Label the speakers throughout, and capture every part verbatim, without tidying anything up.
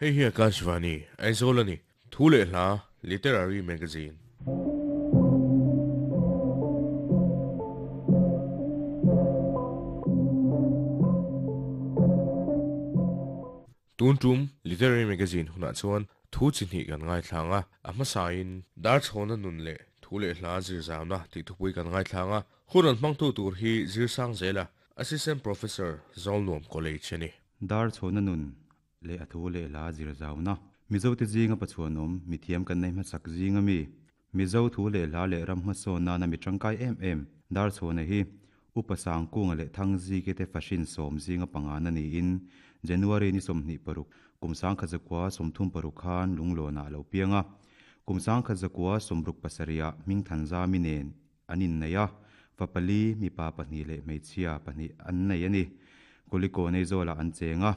Speaker 1: Hei hi Akashvani, Aizawl a ni. Thu leh hla, Literary Magazine. Tun tum Literary Magazine hunah chuan thu chi hnih kan ngaithlang a, a hmasain Darchhawna nun leh thu leh hla zir zauna tih thupui kan ngaithlang a, hun an hmangtu tur hi zir sang zela Assistant Professor Zawlnuam College a ni.
Speaker 2: Darchhawna nun leh a thu leh hla zir zauna Mizo te zinga pachuanom mithiam kan nei hmasak zinga mi Mizo thu leh hla leh ram hmasawn nana mi tangkai em em Darchhawna hi upa sangkunga leh thangzi ke te fashin sawm zinga panga na niin January ni sawmhnih paruk kumsang khazakwa sawmthum paruk khan lunglawna lo pianga kumsang khazakwa sawmruk pasaria hming thanza mi nen anin neia fapali mi pa pahnih leh hmeichhia pahnih an nei ani kuliko nei zawla an chenga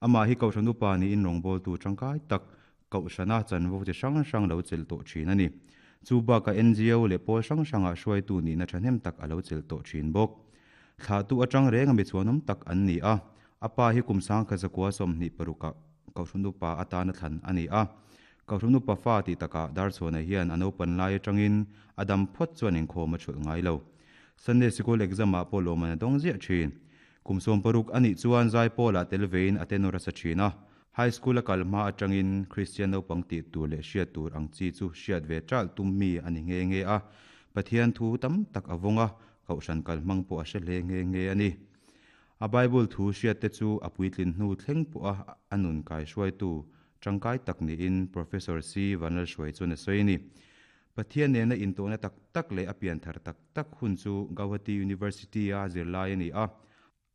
Speaker 2: ama hi kauhran upa ni in rawngbawltu tu tangkai tak kauhrana chanvo chi hrang hrang lo chel tawh thin ani chu baka N G O leh pawl hrang hranga hruaitu ni na thahnem tak alo chel tawh thin bawk thla tu atang renga mi chuanom tak an ni a apa hi kumsang khazakwa sawmhnih paruka kauhran upa atana thlan ani a kauhran upa fa ti taka Darchhawna hian an open lai atangin adam phawt chuan inkhawm a thulh ngai lo Sunday School exam a pawh lawm an dawng ziah thin kumsawm paruk ani chuan zai pawla telvein atenora sa thina high school a kalma atangin Christian naupang ti tur leh hriat tur ang chi chu hriat ve tral tum mi ani nge nge a Pathian thu tam tak awonga kauhran kalhmang pawh a hre hle nge nge ani a Bible thu hriat te chu a puitlin hnu thleng pawh a anun kai hruaitu tangkai tak niin Professor C Vanlal hruai chuan a sawi ni Pathian nena intawhna tak tak leh a pian thar tak tak hun chu Guwahati University a zirlai ani a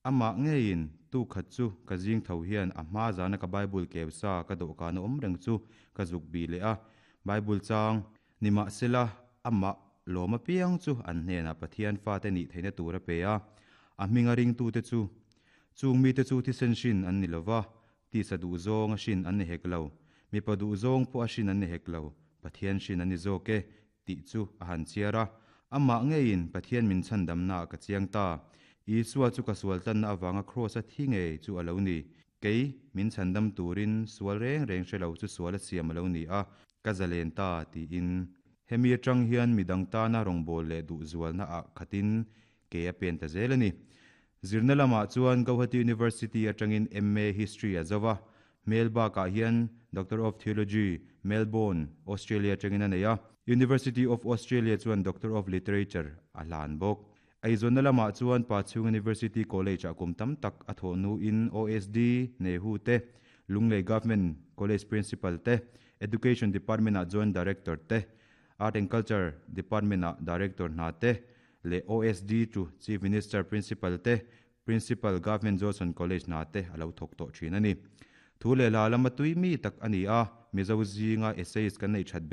Speaker 2: ama ngein tu khat chu ka zing tho hian a hma zana ka Bible kewsa ka dawhkan awm reng chu ka zuk bi le a Bible chang nima sela ama lawma piang chu an hnena Pathian fa te ni theina tur a pe a a hminga ring tu te chu chung mi te chu thi sen shin an ni lova ti sa du zawng a shin an ni hek lo mi pa du zawng pawh a shin an ni hek lo Pathian shin an ni zawk e ti chu a han chiara ama ngein Pathian min chan damna ka chiang ta Isua chu ka sual tan na awanga cross a thi nge chu alo ni kei min chandam turin sual reng reng hrelo chu sual a siam alo ni a ka zalen ta ti in hemi atang hian midang ta na rawngbawlh leh du zual na a khatin ke a pen ta zel ani zirna lama chuan Guwahati University atangin M A History a zawa Melba ka hian Doctor of Theology Melbourne Australia atangin a nei a University of Australia chuan Doctor of Literature a hlan bawk Aizona lama chuan Pachhung University College a kum tam tak a thawhnu in O S D Nehu te Lunglei Government College Principal te Education Department a Joint Director te Art and Culture Department a Director hna te le O S D to Chief Minister Principal te Principal Government Johnson College hna te alo thawk tawh thin ani thu leh hla lama tui mi tak ani a Mizo zinga essays kan nei that